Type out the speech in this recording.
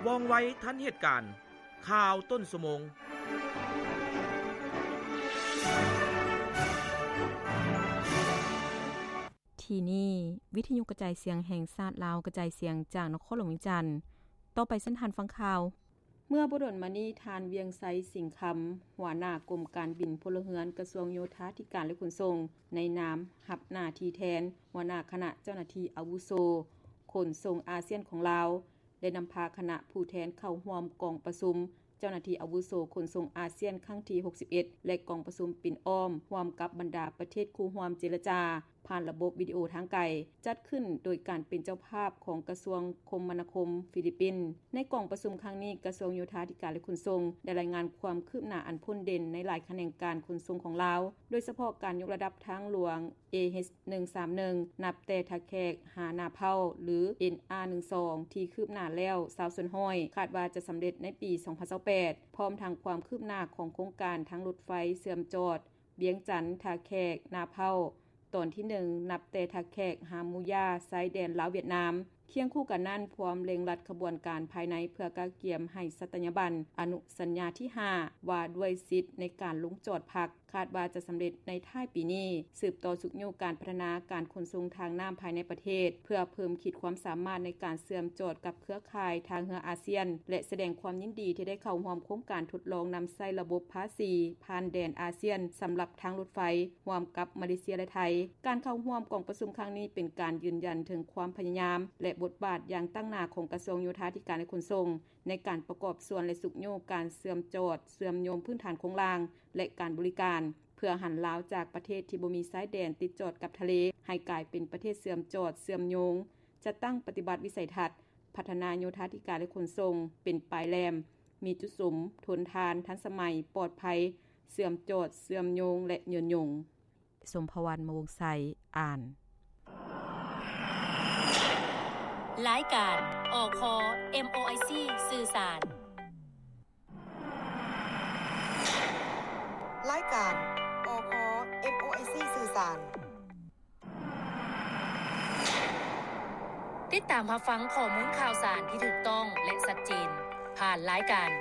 ວ່ອງໄວທັນເຫດການ. ຂ່າວຕົ້ນຊົ່ວໂມງ. ທີ່ນີ້ ວິທະຍຸກະຈາຍສຽງແຫ່ງຊາດລາວ ກະຈາຍສຽງຈາກນະຄອນຫຼວງວຽງຈັນ. ຕໍ່ໄປເຊີນທ່ານຟັງຂ່າວ. ເມື່ອບໍ່ດົນມານີ້ ທ່ານ ວຽງໄຊ ສິງຄຳ ຫົວໜ້າກົມການບິນພົນລະເຮືອນ ກະຊວງໂຍທາທິການ ແລະ ຂົນສົ່ງ ໃນນາມຮັບໜ້າທີ່ແທນຫົວໜ້າຄະນະເຈົ້າໜ້າທີ່ອາວຸໂສຂົນສົ່ງອາຊຽນຂອງລາວ ໄດ້ນຳພາຄະນະຜູ້ແທນເຂົ້າຮ່ວມກອງປະຊຸມເຈົ້າໜ້າທີ່ອາວຸໂສຂົນສົ່ງອາຊຽນຄັ້ງທີຫົກສິບເອັດ ແລະ ກອງປະຊຸມປິ່ນອ້ອມຮ່ວມກັບບັນດາປະເທດຄູ່ຮ່ວມເຈລະຈາ ຜ່ານລະບົບວິດີໂອທາງໄກ, ຈັດຂຶ້ນໂດຍການເປັນເຈົ້າພາບຂອງກະຊວງຄົມມະນາຄົມຟີລິບປິນ. ໃນກອງປະຊຸມຄັ້ງນີ້, ກະຊວງໂຍທາທິການ ແລະ ຂົນສົ່ງ ໄດ້ລາຍງານຄວາມຄືບໜ້າອັນພົ້ນເດັ່ນໃນຫຼາຍຂະແໜງການຂົນສົ່ງຂອງລາວ, ໂດຍສະເພາະການຍົກລະດັບທາງຫຼວງ ເອເອັດໜຶ່ງສາມໜຶ່ງ ນັບແຕ່ທ່າແຂກຫານາເພົ້າ ຫຼື ເອັນອາໜຶ່ງສອງ ທີ່ຄືບໜ້າແລ້ວຊາວສ່ວນຮ້ອຍ, ຄາດວ່າຈະສຳເລັດໃນປີສອງພັນຊາວແປດ, ພ້ອມທັງຄວາມຄືບໜ້າຂອງໂຄງການທາງລົດໄຟເຊື່ອມຈອດວຽງຈັນ ທ່າແຂກ ນາເພົ້າ ຕອນທີໜຶ່ງ ນັບແຕ່ທ່າແຂກຫາໝູຢາ ຊາຍແດນລາວຫວຽດນາມ. ຄຽງຄູ່ກັນນັ້ນ, ພວມເລັ່ງລັດຂະບວນການພາຍໃນ ເພື່ອກະກຽມໃຫ້ສັດຕະຍາບັນອະນຸສັນຍາທີຫ້າ ວ່າດ້ວຍສິດໃນການລົງຈອດພັກ, ຄາດວ່າຈະສຳເລັດໃນທ້າຍປີນີ້, ສືບຕໍ່ຊຸກຍູ້ການພັດທະນາການຂົນສົ່ງທາງນ້ຳພາຍໃນປະເທດ ເພື່ອເພີ່ມຂີດຄວາມສາມາດໃນການເຊື່ອມຈອດກັບເຄືອຂ່າຍທ່າເຮືອອາຊຽນ ແລະ ສະແດງຄວາມຍິນດີທີ່ໄດ້ເຂົ້າຮ່ວມໂຄງການທົດລອງນຳໃຊ້ລະບົບພາສີຜ່ານແດນອາຊຽນ ສຳລັບທາງລົດໄຟ ຮ່ວມກັບມາເລເຊຍ ແລະ ໄທ. ການເຂົ້າຮ່ວມກອງປະຊຸມຄັ້ງນີ້ ເປັນການຢືນຢັນເຖິງຄວາມພະຍາຍາມ ແລະ ບົດບາດຢ່າງຕັ້ງໜ້າຂອງກະຊວງໂຍທາທິການ ແລະ ຂົນສົ່ງ ໃນການປະກອບສ່ວນ ແລະ ຊຸກຍູ້ການເຊື່ອມຈອດເຊື່ອມໂຍງພື້ນຖານໂຄງລ່າງ ແລະ ການບໍລິການ ເພື່ອຫັນລາວຈາກປະເທດທີ່ບໍ່ມີຊາຍແດນຕິດຈອດກັບທະເລ ໃຫ້ກາຍເປັນປະເທດເຊື່ອມຈອດເຊື່ອມໂຍງ, ຈັດຕັ້ງປະຕິບັດວິໄສທັດ ພັດທະນາໂຍທາທິການ ແລະ ຂົນສົ່ງ ເປັນປາຍແຫຼມ, ມີຈຸດສຸມ, ທົນທານ, ທັນສະໄໝ, ປອດໄພ, ເຊື່ອມຈອດ, ເຊື່ອມໂຍງ ແລະ ຍືນຍົງ. ສົມພະວັນ ມະວົງໄຊ ອ່ານ. ລາຍການ ອຄ ເອັມໂອໄອຊີ ສື່ສານ. ລາຍການ ອຄ ເອັມໂອໄອຊີ ສື່ສານ. ຕິດຕາມຮັບຟັງຂໍ້ມູນຂ່າວສານທີ່ຖືກຕ້ອງ ແລະ ຊັດເຈນ ຜ່ານລາຍການ